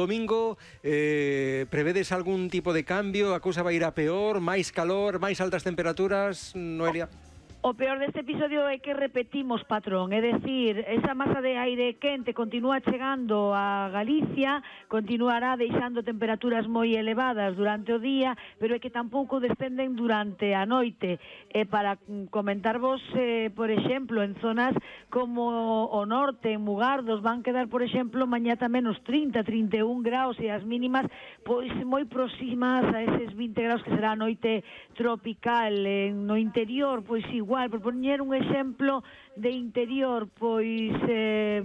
Domingo, prevedes algún tipo de cambio? A cousa vai ir a peor? Máis calor? Máis altas temperaturas? Noelia? O peor deste episodio é que repetimos patrón, é dicir, esa masa de aire quente continúa chegando a Galicia, continuará deixando temperaturas moi elevadas durante o día, pero é que tampouco descenden durante a noite. Para comentarvos, por exemplo, en zonas como o norte, en Mugardos, van quedar, por exemplo, mañá tamén os 30, 31 graus e as mínimas pois moi próximas a eses 20 graus que será a noite tropical. No interior, pois igual, por poñer un exemplo de interior, pois,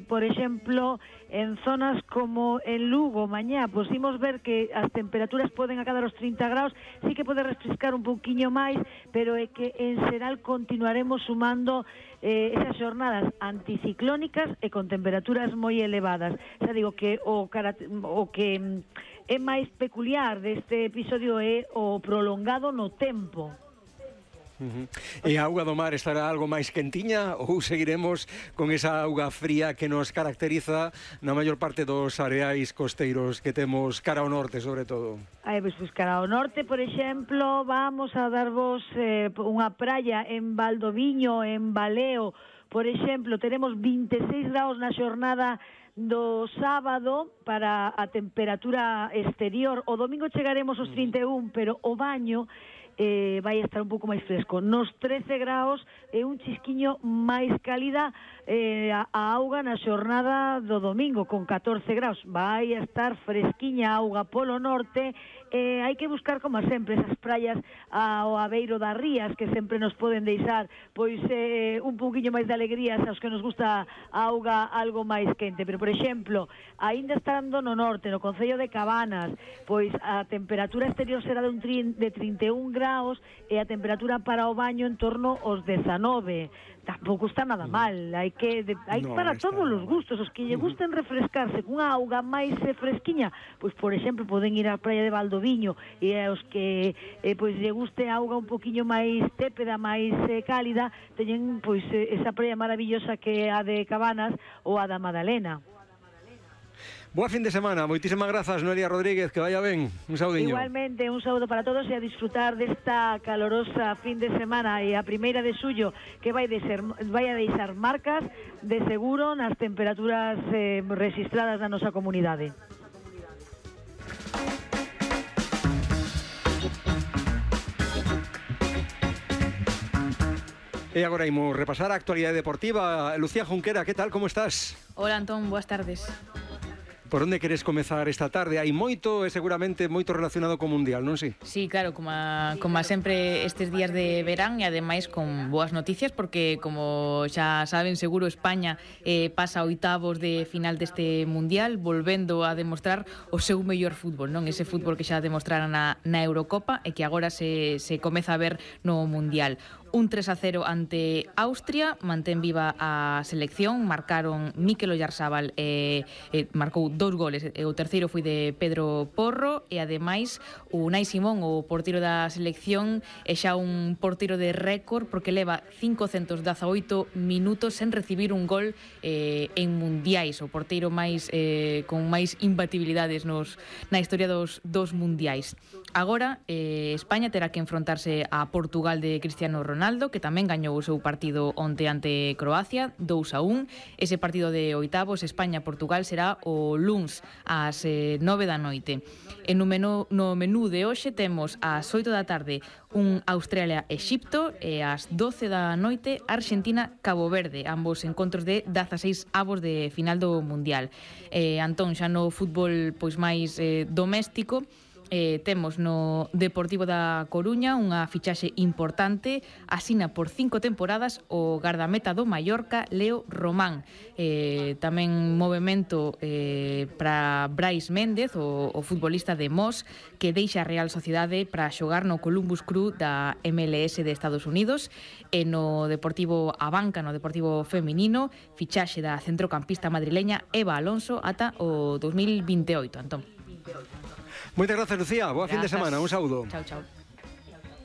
por exemplo, en zonas como en Lugo, mañá, pois imos ver que as temperaturas poden acadar os 30 graus, sí que pode refrescar un pouquiño máis, pero é que en xeral continuaremos sumando esas xornadas anticiclónicas e con temperaturas moi elevadas. Xa digo que o que é máis peculiar deste episodio é o prolongado no tempo. E a auga do mar estará algo máis quentiña ou seguiremos con esa auga fría que nos caracteriza na maior parte dos areais costeiros que temos cara ao norte, sobre todo? Pois cara ao norte, por exemplo, vamos a darvos unha praia en Valdoviño, en Baleo, por exemplo, teremos 26 graus na xornada do sábado para a temperatura exterior. O domingo chegaremos aos 31, pero o baño vai estar un pouco máis fresco. Nos 13 graus é un chisquiño máis cálida a auga na xornada do domingo, con 14 graus. Vai estar fresquiña a auga polo norte. Hai que buscar, como sempre, esas praias ao abeiro das rías que sempre nos poden deixar pois un pouquiño máis de alegrías aos que nos gusta a auga algo máis quente. Pero, por exemplo, aínda estando no norte, no concello de Cabanas, pois a temperatura exterior será de 31 graus e a temperatura para o baño en torno aos 19. Tampouco está nada mal, hai para todos os gustos. Os que lle gusten refrescarse cunha auga máis fresquiña, pois por exemplo poden ir á praia de Valdoviño, e aos que pois lle guste a auga un poquiño máis tépeda, máis cálida, teñen pois esa praia maravillosa que é a de Cabanas ou a da Madalena. Boa fin de semana, moitísimas grazas, Noelia Rodríguez, que vaya ben, un saudiño. Igualmente, un saúdo para todos e a disfrutar desta calorosa fin de semana e a primeira de xullo que vai a deixar marcas de seguro nas temperaturas registradas na nosa comunidade. E agora imos repasar a actualidade deportiva. Lucía Junquera, que tal, como estás? Hola, Antón, boas tardes. Por onde queres comezar esta tarde? Hai moito e seguramente moito relacionado co Mundial, non si? Sí, claro, como sempre estes días de verán e ademais con boas noticias porque, como xa saben, seguro España pasa a oitavos de final deste Mundial, volvendo a demostrar o seu mellor fútbol, non? Ese fútbol que xa demostraran na Eurocopa e que agora se comeza a ver no Mundial. Un 3-0 ante Austria, mantén viva a selección, marcaron Mikel Oyarzábal marcou 2 goles, o terceiro foi de Pedro Porro e ademais o Unai Simón, o porteiro da selección, é xa un porteiro de récord porque leva 518 minutos sen recibir un gol en mundiais, o porteiro máis con máis imbatibilidades na historia dos mundiais. Agora, España terá que enfrontarse a Portugal de Cristiano Ronaldo, que tamén gañou o seu partido onte ante Croacia, 2-1. Ese partido de oitavos, España-Portugal, será o luns ás 9 da noite. E no menú de hoxe temos ás 8 da tarde un Australia-Exipto e ás 12 da noite Argentina-Cabo Verde, ambos encontros de 16 avos de final do Mundial. Antón, xa no fútbol pois máis doméstico, temos no Deportivo da Coruña unha fichaxe importante, asina por 5 temporadas o gardameta do Mallorca, Leo Román. Tamén movemento para Brais Méndez, o futbolista de Mos, que deixa a Real Sociedade para xogar no Columbus Crew da MLS de Estados Unidos. E no Deportivo Abanca, no Deportivo Feminino, fichaxe da centrocampista madrileña Eva Alonso ata o 2028, Antón. Moitas grazas, Lucía. Boa fin de semana. Un saúdo. Chao, chao.